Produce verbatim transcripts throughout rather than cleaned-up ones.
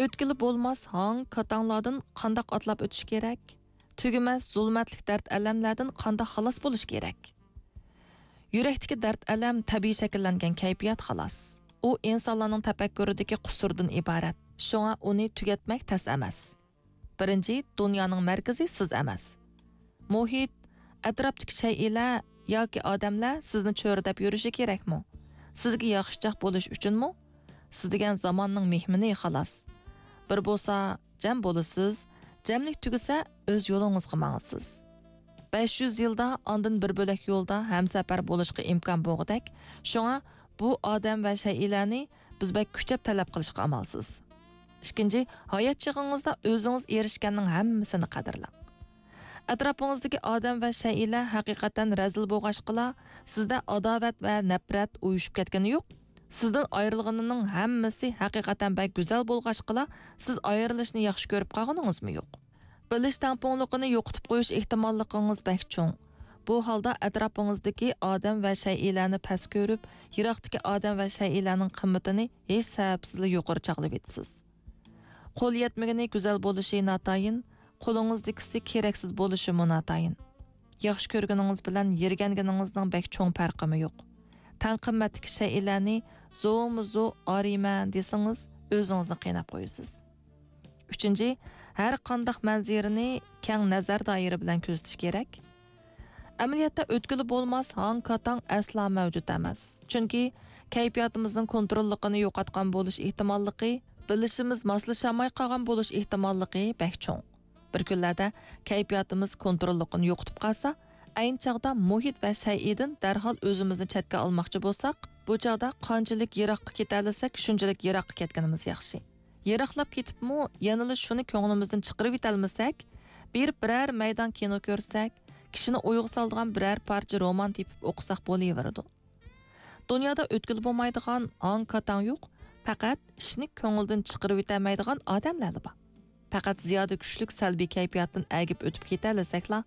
ئۆتكىلى بولماس ھاڭ كاتاڭلاردىن قانداق ئاتلاپ ئۆتۈش كېرەك؟ تۈگىمەس زۇلمەتلىك دەرد-ئەلەملەردىن قانداق خالاس بولۇش كېرەك؟ يۈرەكتىكى دەرد-ئەلەم تەبىئىي شەكىللەنگەن كەيپىيات، خالاس. ئۇ ئىنسانلارنىڭ تەپەككۇرىدىكى قۇسۇردىن ئىبارەت. شۇڭا ئۇنى تۈگەتمەك تەس ئەمەس. بىرىنچى، دۇنيانىڭ مەركىزى سىز ئەمەس. مۇھىت، ئەتراپتىكى شەيئىلەر ياكى ئادەملەر سىزنى چۆرىدەپ يۈرۈشى كېرەكمۇ؟ سىزگە ياخشىچاق بولۇش ئۈچۈنمۇ؟ سىز دېگەن زاماننىڭ مېھمىنى، خالاس. بىر بولسا جەم بولىسىز، جەملىك تۈگىسە ئۆز يولىڭىزغا ماڭىسىز. بەش يۈز يىلدا ئاندىن بىر بۆلەك يولدا ھەمسەپەر بولۇشقا ئىمكان بولغۇدەك، شۇڭا بۇ ئادەم ۋە شەيئىلەرنى بىز بەك كۈچەپ تەلەپ قىلىشقا ئامالسىز. ئىككىنچى، ھايات چېغىڭىزدا ئۆزىڭىز ئېرىشكەننىڭ ھەممىسىنى قەدىرلەڭ. ئەتراپىڭىزدىكى ئادەم ۋە شەيئىلەر ھەقىقەتەن رەزىل بولغاچقىلا، سىزدە ئاداۋەت ۋە نەپرەت ئۇيۇشۇپ كەتكىنى يوق. سىزدىن ئايرىلغىنىنىڭ ھەممىسى ھەقىقەتەن بەك گۈزەل بولغاچقىلا، سىز ئايرىلىشنى ياخشى كۆرۈپ قالغىنىڭىزمۇ يوق. بىلىش تەڭپۇڭلۇقىنى يوقىتىپ قويۇش ئېھتىماللىقىڭىز بەك چوڭ. بۇ ھالدا ئەتراپىڭىزدىكى ئادەم ۋە شەيئىلەرنى پەس كۆرۈپ، يىراقتىكى ئادەم ۋە شەيئىلەرنىڭ قىممىتىنى ھېچ سەۋەبسىزلا يۇقىرى چاغلىۋېتىسىز. قول يەتمىگىنى گۈزەل بولۇشى ناتايىن، قولىڭىزدىكىسى كېرەكسىز بولۇشىمۇ ناتايىن. ياخشى كۆرگىنىڭىز بىلەن يىرگەنگىنىڭىزنىڭ بەك چوڭ پەرقىمۇ يوق. تەڭ قىممەتتىكى شەيئىلەرنى زورمۇ زور ئارىيمەن دېسىڭىز، ئۆزىڭىزنى قىيناپ قويىسىز. ئۈچىنچى، ھەر قانداق مەنزىرىنى كەڭ نەزەر دائىرە بىلەن كۆزىتىش كېرەك. ئەمەلىيەتتە ئۆتكىلى بولماس ھاڭ-كاتاڭ ئەسلا مەۋجۇت ئەمەس. چۈنكى كەيپىياتىمىزنىڭ كونتروللۇقىنى يوقاتقان بولۇش ئېھتىماللىقى، بىلىشىمىز ماسلىشالماي قالغان بولۇش ئېھتىماللىقى بەك چوڭ. بىر كۈنلەردە كەيپىياتىمىز كونتروللۇقىنى يوقىتىپ قالسا، ئەينى چاغدا مۇھىت ۋە شەيئىدىن دەرھال ئۆزىمىزنى چەتكە ئالماقچى بولساق، بۇ چاغدا قانچىلىك يىراققا كېتەلىسەك، شۇنچىلىك يىراققا كەتكىنىمىز ياخشى. يىراقلاپ كېتىپمۇ يەنىلا شۇنى كۆڭلىمىزدىن چىقىرىۋېتەلمىسەك، بېرىپ بىرەر مەيدان كىنو كۆرسەك، كىشىنى ئويغا سالىدىغان بىرەر پارچە رومان تېپىپ ئوقۇساق بولۇۋېرىدۇ. دۇنيادا ئۆتكىلى بولمايدىغان ھاڭ-كاتاڭ يوق، پەقەت ئىشنى كۆڭۈلدىن چىقىرىۋېتەلمەيدىغان ئادەملەرلا بار. پەقەت زىيادە كۈچلۈك سەلبىي كەيپىياتتىن ئەگىپ ئۆتۈپ كېتەلىسەكلا،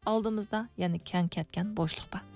ئالدىمىزدا يەنە كەڭ كەتكەن بوشلۇق بار.